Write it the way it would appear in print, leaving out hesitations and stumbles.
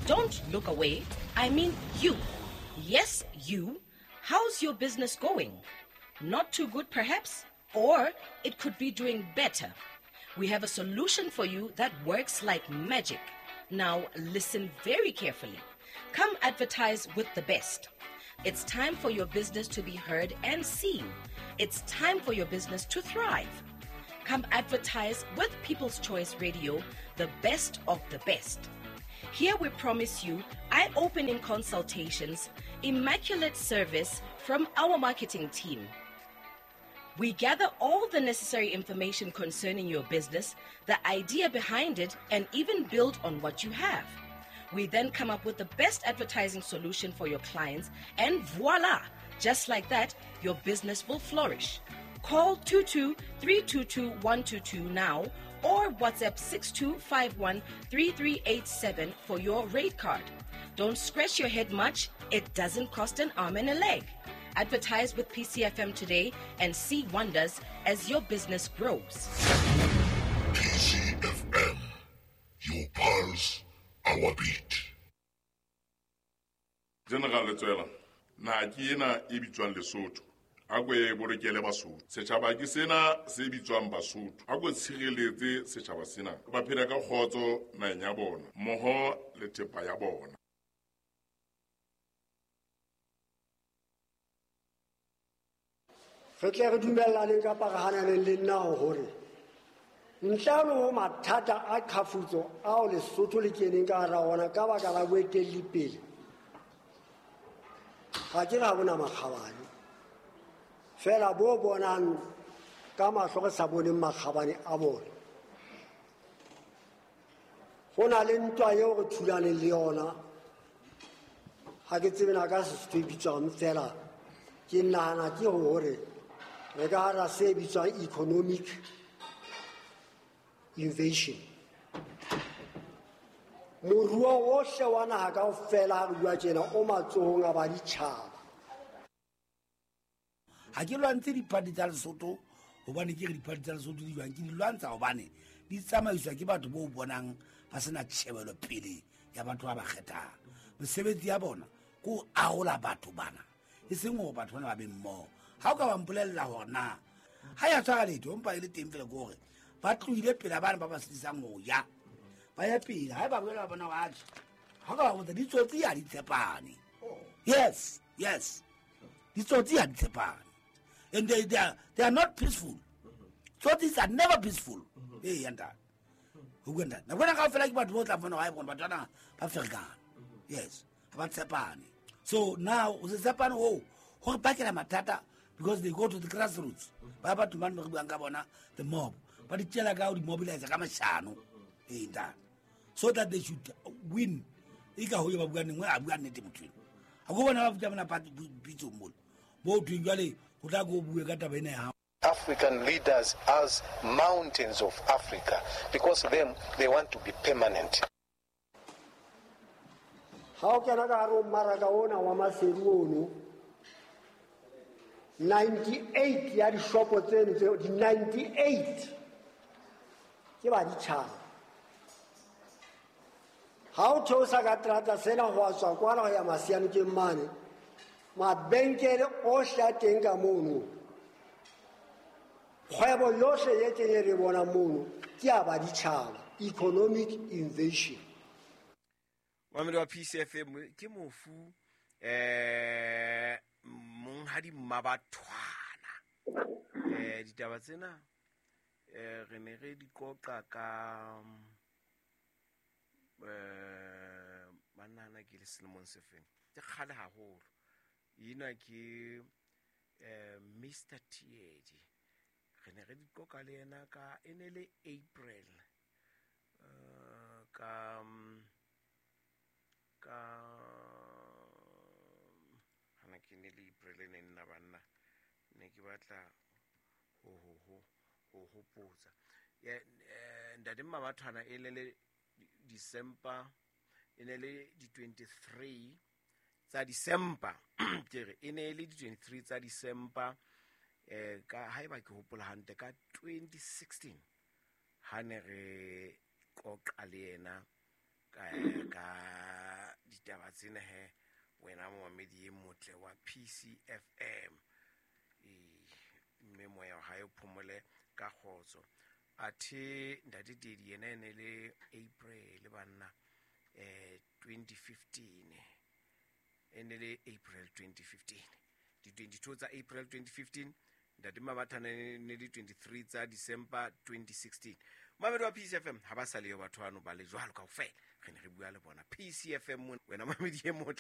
Don't look away. I mean you. Yes, you. How's your business going? Not too good, perhaps? Or it could be doing better. We have a solution for you that works like magic. Now, listen very carefully. Come advertise with the best. It's time for your business to be heard and seen. It's time for your business to thrive. Come advertise with People's Choice Radio, the best of the best. Here we promise you eye opening consultations, immaculate service from our marketing team. We gather all the necessary information concerning your business, the idea behind it, and even build on what you have. We then come up with the best advertising solution for your clients, and voila! Just like that, your business will flourish. Call 22 322 122 now or WhatsApp 6251 3387 for your rate card. Don't scratch your head much, it doesn't cost an arm and a leg. Advertise with PCFM today and see wonders as your business grows. PCFM, your pulse, our beat. General Letsoela, naha ke ena e bitswang Lesotho. A ko e bolokele Basotho. Setjhaba ke sena se bitswang Basotho. A ko tshireletse setjhaba sena. Ba phela ka kgotso naheng ya bona, mmoho le thepa ya bona. Re tle re dumellaneng kapa re hananeng le nna hore ntle le ho mathata a qhafutso ao Lesotho le keneng ka hara ona ka baka la boetelli pele, ga ke ra bona makgabane fela bo bonang ka mahlo re sa boneng makgabane a bona. Go na le ntwa eo re thulaneng le yona, ga ke tsebe na ka Sesotho e bitswang, fela ke nahana ke hore re ka hara se bitswang economic invasion. Moruo ohle wa naha kaofela ha re bua tjena o matsohong a baditjhaba. Ha ke lwantshe diphathi tsa Lesotho hobane ke re diphathi tsa Lesotho di jwang, ke di lwantsha hobane di tsamaiswa ke batho bo bonang ba sena tjhebelo pele ya batho ba ba kgethang. Mesebetsi ya bona ke ho arola batho bana, e seng hore batho bana ba be mmoho. Ha o ka ba mpolella hore na ha ya tshwara letho, empa e le teng fela ke hore ba tlohile pela bana ba ba sitisang ho ya, ba ya pele. Ha ba boela ba bona hore atjhe, ha o ka ba botsa ditsotsi ha di tshepane. Yes, yes, ditsotsi ha di tshepane. And they are not peaceful. Tsotsis are never peaceful. Ee, ya ntate. Ho bua ntate. Nako ena kaofela ke batho bo tla fumana hore batho bana ba ferekana. Yes, ha ba tshepane. So now o se tshepane hoo, ho re bakela mathata because they go to the grassroots. Ba batho bane re buang ka bona, the mob. Ba di tjela ka ho di mobilize ka mashano. Ee, ntate. So that they should win. E ka ho ye ba bua nngwe, a bua nnete motho eno. Ha ko bona ba futsa bona party pitsong mona. Bo thweng jwale ho tla ko bue ka taba ena ya hao. African leaders as mountains of Africa, because them, they want to be permanent. Ha o kena ka hare ho mmaraka ona wa Maseru ono, 98 ya dishopo tseno tseo, di 98 ke baditjhaba. Ha o theosa ka terata sena ho a tswa kwana ho ya Masianokeng mane, mabenkele ohle a teng ka mono, kgwebo yohle e teng e re bonang mono ke ya baditjhaba, economic invasion. Mamedi wa PCFM, ke mofu monghadi Mmabathwana. Ditaba tsena re ne re di qoqa ka banana ke le selemong se feng, ke kgale haholo. Ena ke Mr Tiedi, re ne re di qoqa le yena ka e ne le April ka hana ke ne le April ne nna banna ne ke batla ho hopotsa. Ntate Mmabathwana e ne le December, e ne le di 23 tsa December, ke re e ne le di 23 tsa December ka haeba ke hopola hantle ka 2016 ha ne re qoqa le yena ka Ditaba tsena he wena momamedi e motle wa PCFM, mme moya wa hae o phomole ka kgotso. Athe ntate Tedi yena e ne le April banna, 2015, e ne le April 2015, di-22 tsa April 2015. Ntate Mabathana ne le 23 tsa December 2016. Mamedi wa PCFM, ha ba sa leyo batho bano ba le jwalo kaofela, re ne re bua le bona PCFM. Wena mamedi e motle.